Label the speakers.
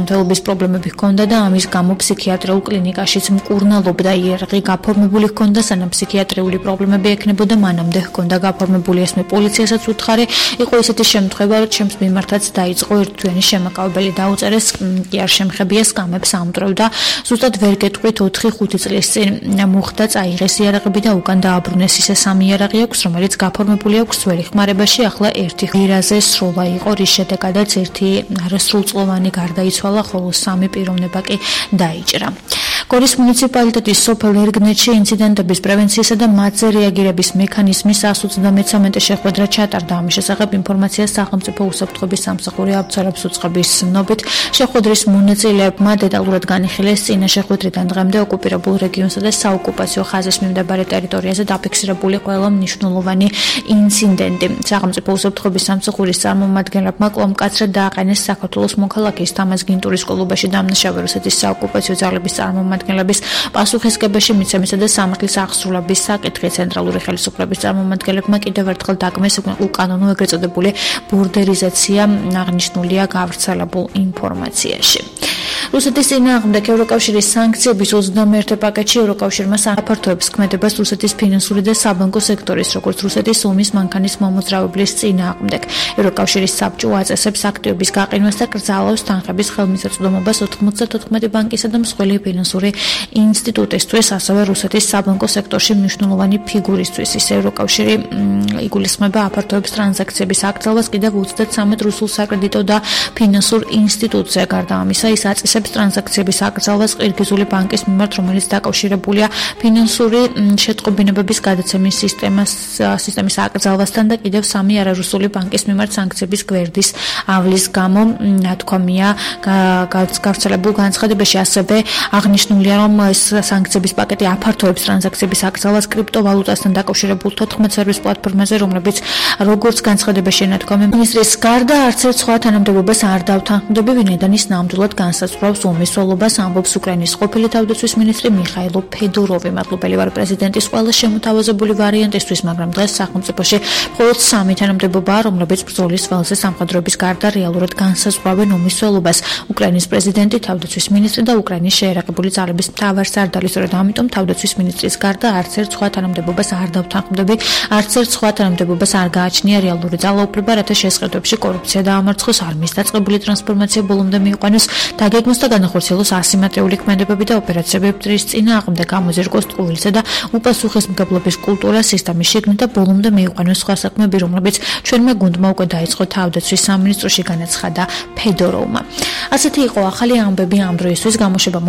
Speaker 1: ჯანმრთელობის პრობლემები ჰქონდა და ამის გამო ფსიქიატრიულ კლინიკაშიც მკურნალობდა. იარაღი გაფორმებული ჰქონდა, სანამ ფსიქიატრიული პრობლემები ექნებოდა, მანამდე ჰქონდა გაფორმებული. ესმე პოლიციასაც უთხარი, იყო ისეთი შემთხვევა, რომ ჩემს მიმართაც დაიწყო ერთთვიანი შემაკავებელი დაუწერეს, კი არ შემხებია სკამებს ამტვრევ და ზუსტად ვერ გეტყვით 4-5 წლის წინ მოხდა, წაიღეს იარაღები და უკან დააბრუნეს. ისე 3 იარაღი აქვს, რომელიც გაფორმებული აქვს ძველი ხმარებაში, ახლა ერთი ღირაზე სროლა იყო, რის შედეგადაც ერთი არასრულწლოვანი გარდაიცვალა, ხოლო 3 პიროვნება კი დაიჭრა. გორის მუნიციპალიტეტის სოფელ ერგნეთში ინციდენტების პრევენციისა და მათზე რეაგირების მექანიზმის 133 შეხვედრა ჩატარდა. ამის შესახებ ინფორმაციას სახელმწიფო უსაფრთხოების სამსახური აუცილებლად უწყების ცნობით, შეხვედრის მონაწილეებმა დეტალურად განიხილეს წინა შეხვედრიდან დღემდე ოკუპირებულ რეგიონსა და საოკუპაციო ხაზის მიმდებარე ტერიტორიაზე დაფიქსირებული ყველა მნიშვნელოვანი ინციდენტი. სახელმწიფო უსაფრთხოების სამსახურის წარმომადგენლებმა კვლავ-მკაცრად დააყენეს საქართველოს მოქალაქის თამაზ გინტურის ყოლობაში დამნაშავე რუსეთის საოკუპაციო ძალების წარმომადგენლების პასუხისგებაში მიცემისა და სამართლის აღსრულების საკითხი. ცენტრალური ხელისუფლების წარმომადგენლებმა კიდევ ერთხელ დაგმეს უკანონო ეგრეთ წოდებული ბორდერიზაცია აღნიშნულია გავრცელებულ ინფორმაციაში. რუსეთის წინააღმდეგ ევროკავშირის სანქციების 21 პაკეტში ევროკავშირმა საფართოებს ქმედებას რუსეთის ფინანსური და საბანკო სექტორის, როგორც რუსეთის ომის მანქანის მომოძრავებლის წინააღმდეგ. ევროკავშირის საბჭო აწესებს აქტივების გაყინვას და კრძალავს თანხების ხელმისაწვდომობას 94 ბანკისა და მსხვილი ფინანსური ინსტიტუტისთვის, ასევე რუსეთის საბანკო სექტორში მნიშვნელოვანი ფიგურისთვის. ის ევროკავშირი იგულისხმება აფართოებს ტრანზაქციების აკრძალვას კიდევ 33 რუსულ საკრედიტო და ფინანსურ ინსტიტუტზე. გარდა ამისა, ის აწესებს ტრანზაქციების აკრძალვას ყირგიზული ბანკის მიმართ, რომელიც დაკავშირებულია ფინანსური შეტყობინებების გადაცემის სისტემის აკრძალვასთან და კიდევ 3 არარუსული ბანკის მიმართ სანქციების გვერდის ავლის გამო. ნათქვამია გავრცელებულ განცხადებაში, ასევე აღნიშნულია, რომ ეს სანქციების პაკეტი აფართოებს ტრანზაქციების აკრძალვას კრიპტოვალუტასთან დაკავშირებულ 14 სერვის პლატფორმაზე, რომლებიც, როგორც განცხადებაში ენათქვამება, მინისტრის გარდა არც ერთ სხვა თანამდებობას არ დავთანხმდები, ვინაიდან ის ნამდვილად განსაზღვრავს ომის სოლობას, ამბობს უკრაინის ყოფილი თავდაცვის მინისტრი მიხაილო ფედოროვი. მადლობელი ვარ პრეზიდენტის ყველა შემოთავაზებული ვარიანტისთვის, მაგრამ დღეს სახელმწიფოში მხოლოდ 3 თანამდებობაა, რომლებიც ბრძოლის ველზე სამხედროების გარდა რეალურად განსაზღვრავენ ომის სოლობას: უკრაინის პრეზიდენტი, თავდაცვის მინისტრი და უკრაინის შეერაგებული ძალების მთავარსარდალი. სწორედ ამიტომ თავდაცვის მინისტრის გარდა არც ერთ სხვა თანამდებობას არ დავთანხმდები, არც ერთ სხვა თანამდებობას არ გააჩნია რეალური ძალაუფლება, რათა შესყიდვებში კორუფცია დაამარცხოს, არმიის დაწყებული ტრანსფორმაცია ბოლომდე მიიყვანოს, დაგეგმოს და განახორციელოს ასიმეტრიული ქმედებები და ოპერაციები მტრის წინააღმდეგ, გამოზირკოს ტყუილისა და უპასუხისმგებლობის კულტურა, სისტემის შიგნით და ბოლომდე მიიყვანოს სხვა საქმეები, რომლებიც ჩვენმა გუნდმა უკვე დაიწყო თავდაცვის სამინისტროში, განაცხადა ფედოროვმა. ასეთი იყო ახალი ამბები ამ დროისთვის. გამოშვება